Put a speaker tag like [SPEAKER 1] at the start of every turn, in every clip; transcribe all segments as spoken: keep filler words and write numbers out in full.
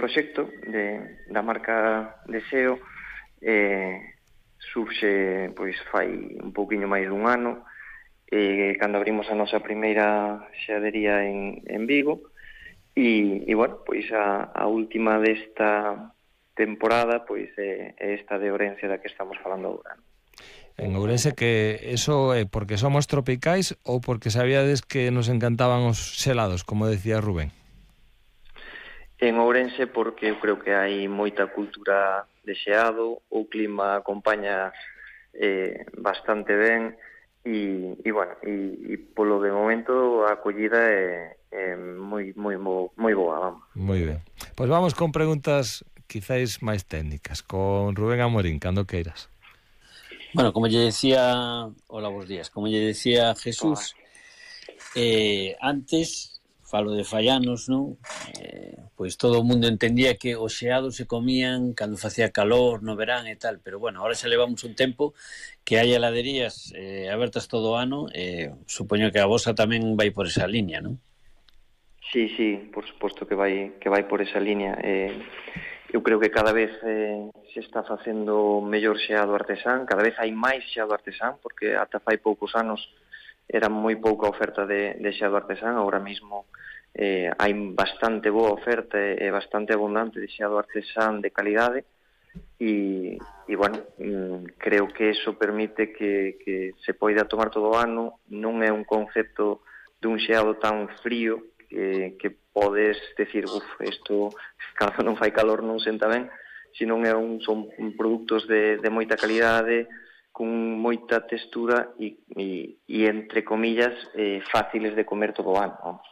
[SPEAKER 1] proxecto de, da marca Deseo eh, surxe pois fai un pouquiño máis dun ano, eh, cando abrimos a nosa primeira xeadería en, en Vigo, e, e bueno, pois a, a última desta temporada pois é, é esta de Ourense da que estamos falando agora.
[SPEAKER 2] En Ourense, que eso é porque somos tropicais ou porque sabíades que nos encantaban os xelados, como decía Rubén?
[SPEAKER 1] En Ourense porque eu creo que hai moita cultura de xeado, o clima acompaña eh, bastante ben e, e bueno, e, e polo de momento a acollida é, é moi, moi, moi boa, vamos.
[SPEAKER 2] Moi ben. Pois vamos con preguntas quizáis máis técnicas, con Rubén Amorín, cando queiras.
[SPEAKER 3] Bueno, como lle decía, hola, bons días, como lle decía Jesús, eh, antes, falo de fai anos, non? Eh, pois todo o mundo entendía que os xeados se comían cando facía calor, no verán e tal, pero bueno, ahora xa levamos un tempo que hai heladerías eh, abertas todo o ano, eh, supoño que a vosa tamén vai por esa liña, non?
[SPEAKER 1] Sí, sí, por suposto que vai que vai por esa liña. Eh, eu creo que cada vez eh, se está facendo mellor xeado artesán, cada vez hai máis xeado artesán, porque ata fai poucos anos era moi pouca oferta de, de xeado artesán, agora mesmo eh, hai bastante boa oferta e bastante abundante de xeado artesán de calidade e, e bueno, mm, creo que eso permite que, que se poida tomar todo o ano, non é un concepto dun xeado tan frío que, que podes decir, uf, isto cando non fai calor non senta ben, senón é un, son produtos de, de moita calidade, con moita textura e, e, e entre comillas, eh, fáciles de comer todo o ano, vamos.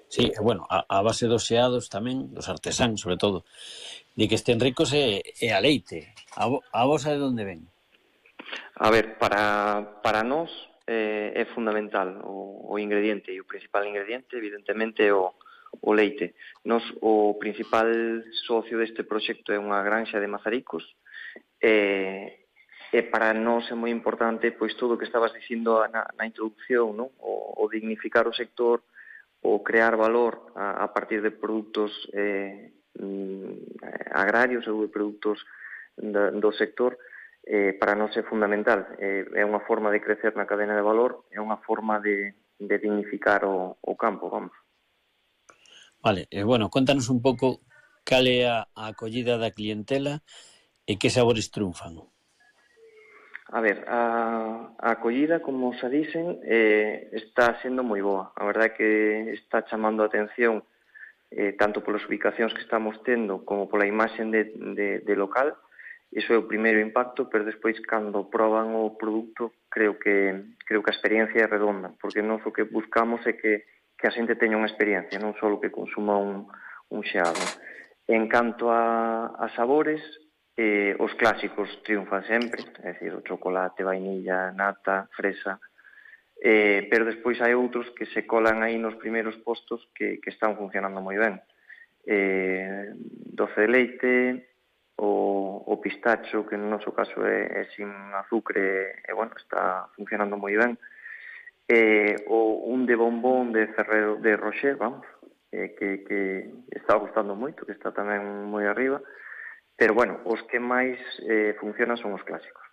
[SPEAKER 3] Sí, bueno, a, a base dos xeados tamén, dos artesán, sobre todo, de que estén ricos é, é a leite. A, a vosa de onde ven?
[SPEAKER 1] A ver, para, para nós eh, é fundamental o, o ingrediente, e o principal ingrediente, evidentemente, é o, o leite. Nos, o principal socio deste proxecto é unha granxa de Mazaricos, e, e para nós é moi importante pois todo o que estabas dicindo na, na introducción, non? O, o dignificar o sector, o crear valor a, a partir de produtos eh, agrarios ou de produtos do, do sector, eh, para nós é fundamental. Eh, é unha forma de crecer na cadena de valor, é unha forma de, de dignificar o, o campo, vamos.
[SPEAKER 3] Vale, eh, bueno, contanos un pouco cal é a, a acollida da clientela e que sabores triunfan.
[SPEAKER 1] A ver, a, a acollida, como xa dicen, eh, está sendo moi boa. A verdade é que está chamando a atención eh, tanto polas ubicacións que estamos tendo como pola imaxen de, de, de local. Iso é o primeiro impacto, pero despois, cando proban o produto, creo que creo que a experiencia é redonda, porque nós o que buscamos é que, que a xente teña unha experiencia, non só que consuma un, un xeado. En canto a, a sabores, Eh, os clásicos triunfan sempre, é dicir, o chocolate, vainilla, nata, fresa, eh, pero despois hai outros que se colan aí nos primeiros postos que, que están funcionando moi ben. Eh, doce de leite, o, o pistacho, que no noso caso é, é sin azúcar, e bueno, está funcionando moi ben. Eh, o un de bombón de Ferrero de Rocher, vamos, eh, que, que está gustando moito, que está tamén moi arriba. Pero, bueno, os que máis eh, funcionan son os clásicos.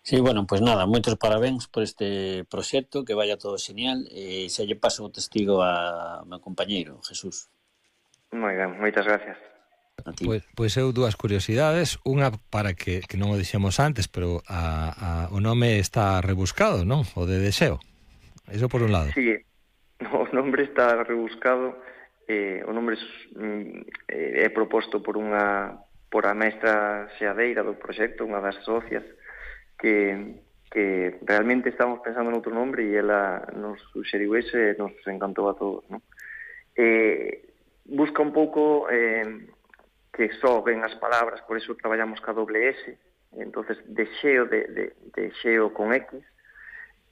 [SPEAKER 3] Sí, bueno, pois pues nada, moitos parabéns por este proxecto, que vaya todo genial, e xa lle paso o testigo a meu compañeiro, Jesús.
[SPEAKER 1] Moi ben, moitas gracias.
[SPEAKER 2] Pois, pois eu dúas curiosidades, unha para que, que non o dixemos antes, pero a, a, o nome está rebuscado, non? O de Deseo. Eso por un lado.
[SPEAKER 1] Sí, o nombre está rebuscado. Eh, o nombre é, é proposto por unha por a mestra xeadeira do proxecto, unha das socias, que, que realmente estamos pensando noutro nombre e ela nos suxeriu ese e nos encantou a todos, non? Eh, busca un pouco eh, que soben as palabras, por iso traballamos ca doble S, entonces deseo de, de, de xeo con X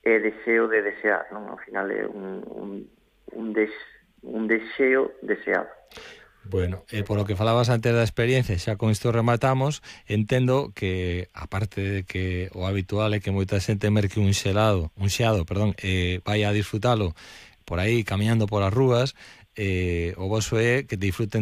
[SPEAKER 1] e deseo de desear, non? Ao final é un, un, un deseo un deseo deseado.
[SPEAKER 2] Bueno, eh, por lo que falabas antes da experiencia, xa con isto rematamos, entendo que, aparte de que o habitual é que moita xente merque un xelado, un xeado, perdón, eh, vai a disfrutalo por aí, camiñando polas rúas, eh, o voso é que disfruten